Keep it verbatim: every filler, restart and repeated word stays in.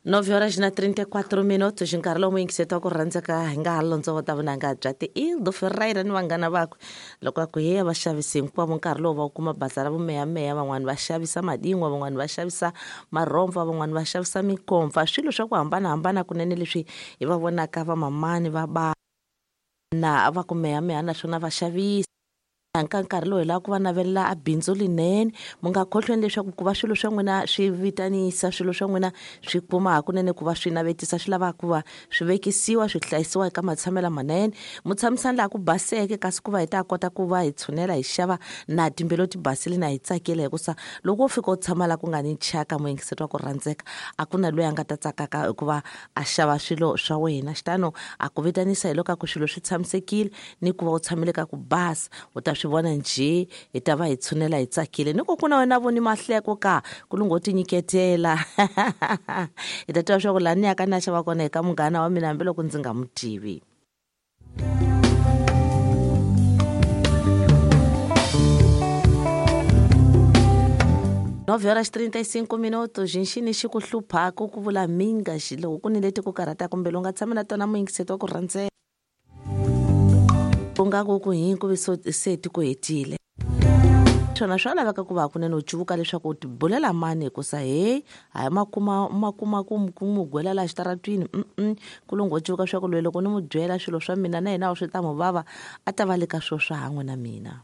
Nove horas na trinta e quatro minutos, nkarhi lowu muyingiseti wa ku rhandzeka hi nga ha londzovota vunanga bya ti-Ildo Ferreira ni vanghana vakwe loko a ku heya vaxavisi hinkwavo. Nkarhi lowu va wu kuma baza ra vumeyameya, van'wani va xavisa madingwa, van'wani va xavisa marhomfa, van'wani va xavisa mikomfa, swilo swa ku hambanahambana kunene leswi hi va vonaka vamamani va bana va ku meyameya naswona va xavisa. Ka nkarhi lowu hi lava ku va navelela a bindzu linene. Mu nga khohlweni leswaku ku va swilo swa n'wina swi vitanisa, swilo swa n'wina swi kuma hakunene ku va swi navetisa, swi lava ku va swi vekisiwa, swi hlayisiwa eka matshamelo manene, mu tshamisani laha ku baseke, kasi ku va hi ta kota ku va hi tshunela hi xava na timbilu ti basile na hi tsakile. Hikusa loko wo fika u tshama laha ku nga ni thyaka, muyingiseti wa ku rhandzeka, a ku na loyi a nga ta tsakaka hikuva a xava swilo swa wena. Xitano a ku vitanisa hi loko a ku swilo swi tshamisekile ni ku va u tshamile ka ku basa, u ta swi vona njhe, hi ta va hi tshunela hi tsakile ni ku ku na wena voni mahleko ka ku lungho tinyiketela. Hi ta tiva swa ku laha ni yaka ni ya xava kona hi ka munghana wa mina, hambiloko ndzi nga n'wi tivi. Nove horas trinta e cinco minutos. Nxini xi ku hluphaku ku vula minga xi loko ku ni leti ku karhataka kumbe lowu nga tshama na tona, muyingiseti wa ku rhandzeka, u nga ku ku hi ku vi se ti ku hetile swona, swa laveka ku va hakunene u cuvuka leswaku u tibulela mani, hikusa heyi hayi makuma makuma ku ku mu gwela laha xitaratwini mm ku lungho cuvuka swa ku loyi loko ni mu byela swilo swa mina na yena swi ta mu vava, a ta va le ka swo swa han'we na mina.